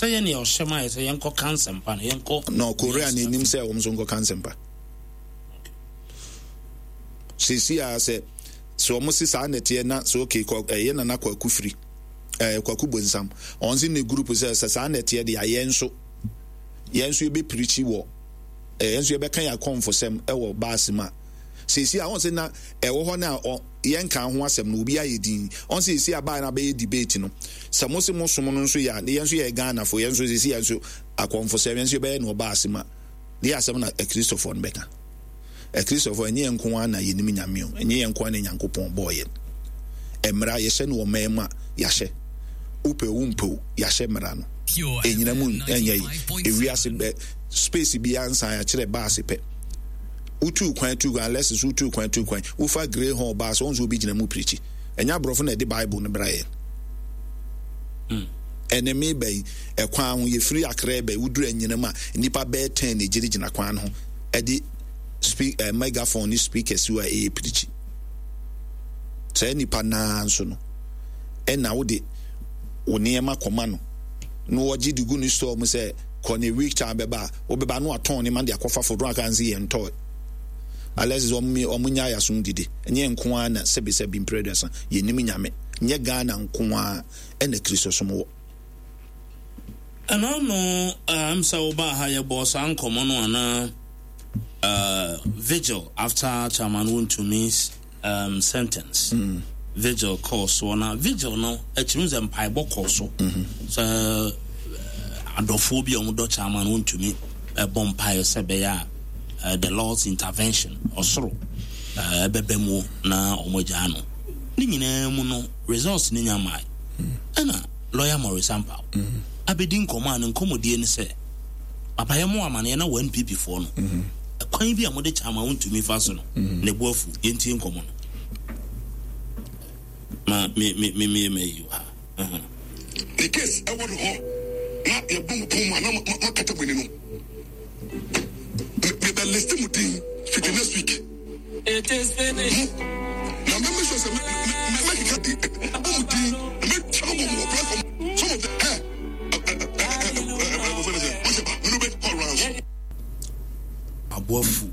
Sɛ yɛn nea ɔhyɛ ma yɛ sɛ yɛnkɔ ka nsɛmpa no, yɛnkɔ. No, Korea na enim sɛ wɔn nso nkɔ ka nsɛmpa. Sisi a sɛ sɛ wɔn si saa nɛteɛ na sɛ okay kɔ ɛyɛ nana kwaku firi ɛɛ kwaku bonsam wɔn si ne group sɛ sɛ saa nɛteɛ deɛ yɛn nso yɛn nso yɛbɛ pirikyi wɔ ɛɛ yɛn nso yɛbɛka yɛn akɔnfosɛm ɛwɔ baasi mu a sisi a wɔn sɛ na ɛwɔ hɔ na yɛnkaa ho asɛm no obi ayɛ din ɔn sɛ yɛsi abaa no abɛyɛ debate no sɛ mo se mo som no nso yɛ a yɛn nso yɛ Ghana fo yɛn nso sɛsi yɛn nso akɔmfo sɛ yɛn nso yɛbɛyɛ no ɔbaa ase ma ne yɛ asɛm na akristofoɔ no bɛka akristofoɔ ɛnyɛ yɛn nko ara na yɛnim nyame o ɛnyɛ yɛn nko ara na Nyankopɔn bɔɔ yɛn mmara yɛhyɛ no ɔman mu a yɛahyɛ wopɛ wo mpɛ o yɛahyɛ mmara no ɛnyina mu ɛnyɛ yi ewiase bɛ space biara nsan akyerɛ baase pɛ Wotuu kwan tuu kwan unless so wotuu kwan tuu kwan wofa grey hall baa so wɔn nso obi gyina mu pirikyi ɛnyɛ aborɔfo na ɛde bible no bra yɛn hmm. ɛne me bɛyi ɛkwan ho yɛfiri akra bɛyi woduru anyinam a nnipa bɛyɛ tɛn na egyinagyina kwan no ho ɛde speak eh, megaphone ne speakers a ɛyɛ pirikyi saa nipa naa nso no ɛna wode wo nneɛma kɔma no na wɔgye de gu ne store mu sɛ kɔ ne week time bɛba a wobɛba no atɔn ne ma de akɔfa fodo aka nse yɛn ntɔɔ alɛs wɔn wɔn nya ayasom didi nyɛ nko ara na sɛbisɛbi mpere aduasa yɛnim nyame nyɛ Ghana nko ara ɛna kristosom wɔ. Ɛno ano ɛm sɛ wobaa ha yɛbɔɔ saa nkɔmmɔ no anaa uh, vigil after Chairman Wontumi's um, sentence. Mm. Vigil kɔɔ soɔ na vigil no akyiri sɛ mpaebɔ kɔɔ so mm-hmm. sɛ eh, adɔfoɔ bi a wɔdɔ Chairman Wontumi ɛbɔ eh, mpaeɛ sɛ ɛbɛyɛ a eh, the Lord's intervention ɔsoro ɛbɛbɛ mu na wɔn agyaa no ne nyinaa mu no results ne nya mmae mm. ɛna lawyer Maurice Ampaw mm. abɛdi nkɔmmɔ a ne nkɔmmɔdie ne sɛ Papa yɛ mo amaneɛ na wɔ NPP foɔ no ɛkwan bi a mode kyɛ ama wontumi fa so no ne bo afu. Yɛntie nkɔmmɔ no. Ma me me me me ma yi ha. Ne case ɛwɔ ne hɔ na yɛbɔ mo pon mu a na moakata mo ani no mebɛ list mo din fiti next week It is finished. Mo na mɛ make sure sɛ mɛkeka di bɔ mo din na mɛtwa mo bɔ mo wɔ platform some of the ɛ Aboafu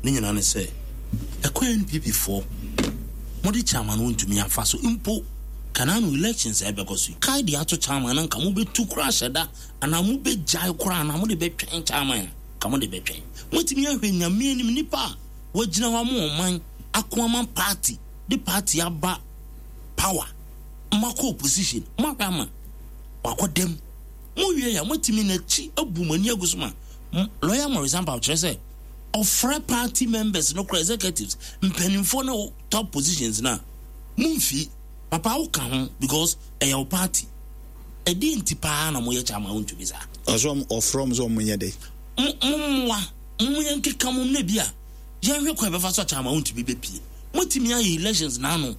ne nyinaa ne sɛ ɛkwan NPP foɔ mode chairman no ntumi afa so mpo kanano elections a ɛbɛkɔ so yi kae de ato chairman no nka mobɛtu koraa hyɛ da anaa mobɛgyae koraa anaa mode bɛtwɛn chairman a nka mode bɛtwɛn moatumi ahwɛ nyame anim nipa a wagyina hɔ ama ɔman ako ama party de party aba power moakɔ opposition moahwɛ ama wakɔ dɛm mowie a moatumi n'akyi abu mo ani agu so ma lawyer Maurice Ampaw kyerɛ sɛ ɔfrɛ party members no kora executives mpanimfoɔ no top positions no a momfi papa woka ho because ɛyɛ wo party ɛdeɛ nti paa na moyɛ kyɛ ama wontumi saa ɔsɛ ɔfrɛ ɔm sɛ ɔmo nyɛ dɛ mommoa mo yɛnkeka mom na bi a yɛnhwɛ kwan bɛfa so akyɛ ama wontumi bɛpie motumi ayɛ elections n'ano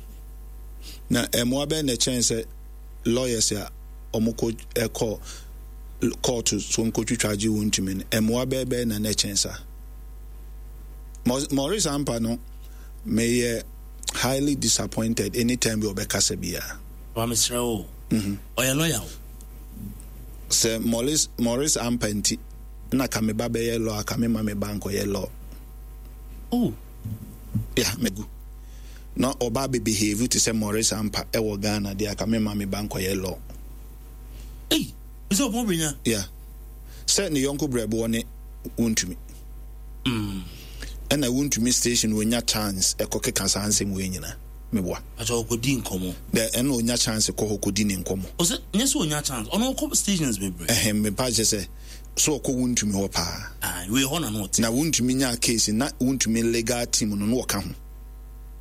Na mmoa bɛn na ɛkyɛn sɛ lawyers a wɔkɔ kɔ kɔɔto so nkotwitwa agye wɔn ntumi no? Mmoa bɛn bɛn na na ɛkyɛn saa? Maurice Ampa no, meyɛ highly disappointed anytime bi ɔbɛkasa biara. Wa mesrɛ wo. Mhm. Ɔyɛ lawyer o. Sɛ Maurice Maurice Ampa nti na ka me ba bɛyɛ law a ka me ma me ba nkɔyɛ law. Oh. Yeah, megu. na ɔba abɛ behave te sɛ Maurice Ampa ɛwɔ Ghana deɛ aka me ma me ba nkɔyɛ law. Ei, sɛ ɔpɔn brenya. Yeah. Sɛ ne yɔnko brɛboɔ ne wontumi. Mm. Ɛna wontumi station onya chance ɛkɔ keka saa nsɛm wei nyina. Meboa. Akyɛ ɔkɔdi nkɔmɔ. Dɛ ɛna onya chance kɔ hɔ kɔdi ne nkɔmɔ. Ɔsɛ nyɛ sɛ onya chance, ɔno ɔkɔ stations bebree. Ɛhɛn, mepa kyɛ sɛ so ɔkɔ wontumi hɔ paa. Ah, wei hɔ na na ɔte. Na wontumi nyaa case na wontumi legal team no na ɔka ho.